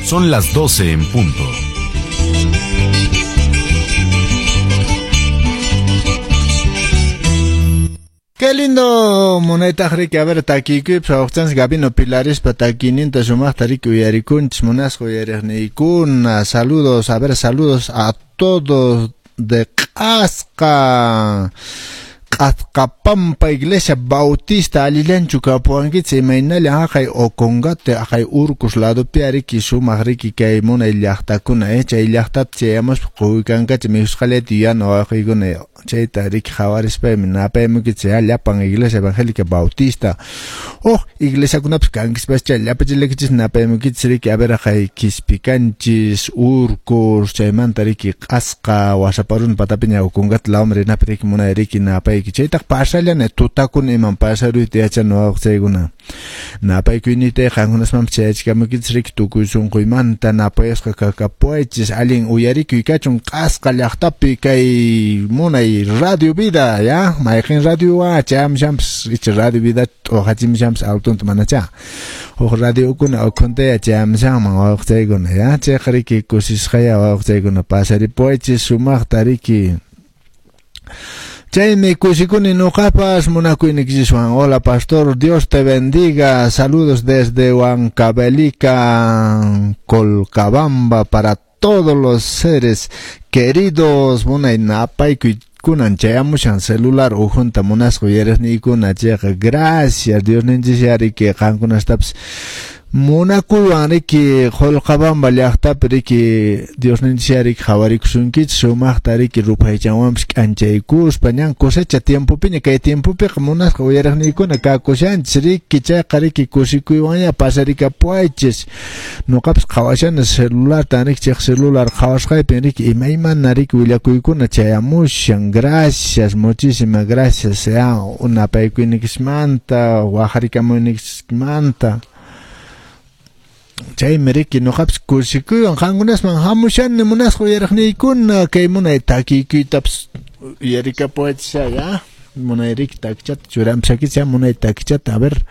Son las 12 en punto. Qué lindo munaytaq riki, a ver, takiykuypas wawqchanchis Gabino Pilarispa takiyninta sumaqta riki uyarikunchis munasqa uyariqniykuna. Saludos, a ver, saludos a todos de Q'asqa. Q'asqapampa Iglesia Bautista allillanchu kapuwankichis imaynallan haqay Ocongate haqay Urcos ladopi riki sumaq riki kay munay llaqtakuna chay llaqtata chayamuspa quykankachi mikhusqallayta yuyana wawqiykuna chayta riki qhawarispaymi napaymukichis ya llapan Iglesia Evangélica Bautista huk iglesiakunapas kankispaschá llapachillaykichis napaymukichis riki a ver haqay Quispicanchis Urcos chaymanta riki Q'asqa Wasaparuna patapiña Ocongate lawman rinapi riki munay riki napayki chaytaq pasallana tutakuna iman pasaruyta yachana wawqichaykuna napaykuyninta qankunasmanpas chayachikamukichis riki tukuy sunquymanta napayasqa kakapuwaychis allin uyarikuy kachun Q'asqa llaqtapi kay munay Radio Vida ya mayqin radio chayamushanpas icha Radio Vida t'uqachimushanpas altunta manachá huk radiokuna ukhuntaya chayamushanman wawqichaykuna ya chayqa riki kusisqaya wawqichaykuna pasaripuwaychis sumaqta riki. Chaymi kusikuni nuqapas munakuynikichiswan. Hola pastor, Dios te bendiga. Saludos desde Huancavelica, Colcabamba para todos los seres queridos. Munay napaykuy kunan chayamushan celular ukhunta munasqa uyariqniykuna chayqa gracias Dios ninchis riki qankunastapas munakuywan riki Qolqabamba llaqtapi riki Dios ninchis riki qhawarikusunkichis sumaqta riki ruphaychanwanpas k'anchaykuspa ñan cosecha tiempopiña kay tiempopiqa munasqa uyariqniykuna kakushanchis riki chayqa riki kusikuywanña pasarikapuwaychis nuqapas qhawashani celularta riki chay celular qhawasqaypin riki imaymana riki willakuykuna chayamushan gracias muchísimas gracias ya unapaykuyniykichmanta waqharikamuyniykichmanta. Chaymi riki nuqapas kusikuywan qankunasman hamushani munasqa uyariqniykuna kay munay takiykuytapas uyarikapuwaychis ya munay riki takichata churamshakichis ya munay takichata a ver.